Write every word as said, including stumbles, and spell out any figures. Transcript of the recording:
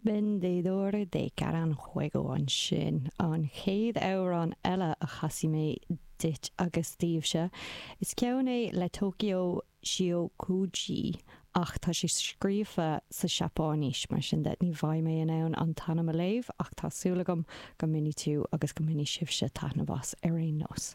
Vendedor de Caranjuego ansin an chéad amhrán eile a chasfaidh mé duit agus daoibhse. Is ceann é le Tokyo Shiokuji ach tá sé scríofa sa Seapáinis mar sin de ní bheidh mé in ann an t-ainm a léamh ach tá súil agam go mbainfidh tú agus go mbainfidh sibhse taitneamh as ar aon nós.